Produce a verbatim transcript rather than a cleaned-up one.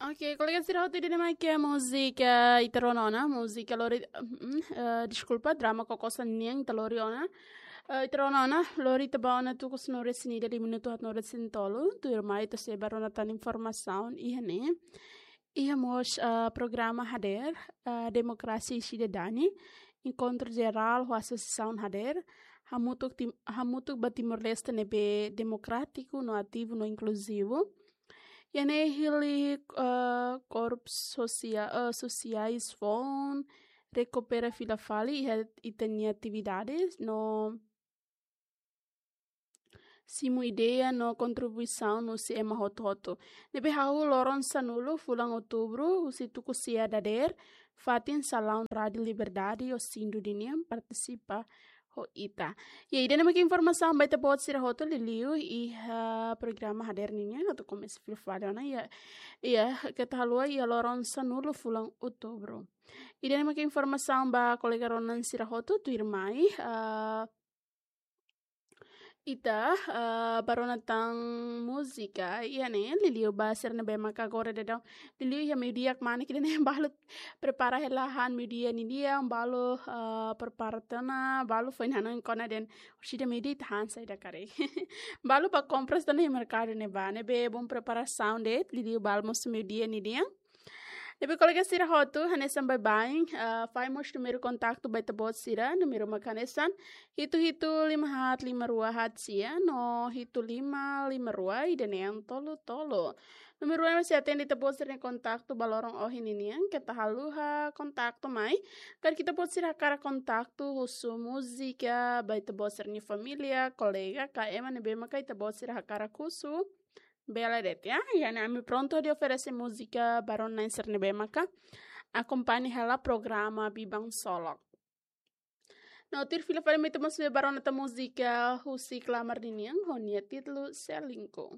Oke, kolega sira hotu, ida-ne'e mak múzika ita rona ona, múzika lori, mm, eh, deskulpa, drama Kokosan nian ita lori ona. Eh, ita rona ona, lori ita ba ona tuku sanulu-resin-ida, liu minutu haatnulu-resin-tolu, tuirmai ita sei ba rona tan informasaun iha ne'e. Iha mós, eh, programa hadeer, eh, Demokrasia i Sidadania, enkontru jerál ho asosiasaun hadeer, hamutuk Tim-, hamutuk ba Timor-Leste ne'ebé demokrátiku, no ativu, no inkluzivu. Iha ne'e hili, eh, korpu sosia-, eh, sosiais foun rekupera fila fali iha ita-nia atividades no simu ideia no kontribuisaun husi ema hotu-hotu. Ne'ebé hahú loron sanulu fulan Outubru, husi tuku sia dadeer, fatin salaun Rádiu Liberdade Osindu ninian partisipa ho ita. Ya, ida-ne'e mak informasaun ba ita-boot sira hotu, liuliu iha programa hadeer ninian, atu komesa fila fali ona, ya, ya, keta haluha iha loron sanulu fulan Outubru. Ida-ne'e mak informasaun ba kolega rona sira hotu, tuirmai, eh, ita, eh, ba rona tan múzika iha ne'e, liuliu ba sira ne'ebé maka agora daudaun, liuliu iha meiudia kmanek ida-ne'e balu prepara hela han meiudia nian, balu, eh, prepara tiha ona, balu foin hanoin kona dehan, orsida meiudia ita han saida karik. Balu ba kompras tiha ona iha merkadu ne'ebá, ne'ebé bom preparasaun de'it, liuliu balu mós meiudia nian. Ne'ebé kolega sira hotu, hanesan baibain, eh, fahe mós númeru kontaktu ba ita-boot sira, númeru mak hanesan hitu hitu lima haat lima rua haat sia, no hitu lima lima rua ida-ne'e tolu tolu. Númeru ne'e sei atende ita-boot sira-nia kontaktu ba loron ohin ninian, keta haluha kontaktu mai. Karik ita-boot sira hakarak kontaktu husu múzika ba ita-boot sira-nia família, kolega, ka ema ne'ebé maka ita-boot sira hakarak husu, bele de'it, ya. Iha ne'e ami prontu hodi oferese múzika ba rona-na'in sira ne'ebé maka akompaña hela programa Biban Solok. No tuir fila fali mai ita mós ba rona tan múzika husi Klamar ninian, ho nia títulu Selingkuh.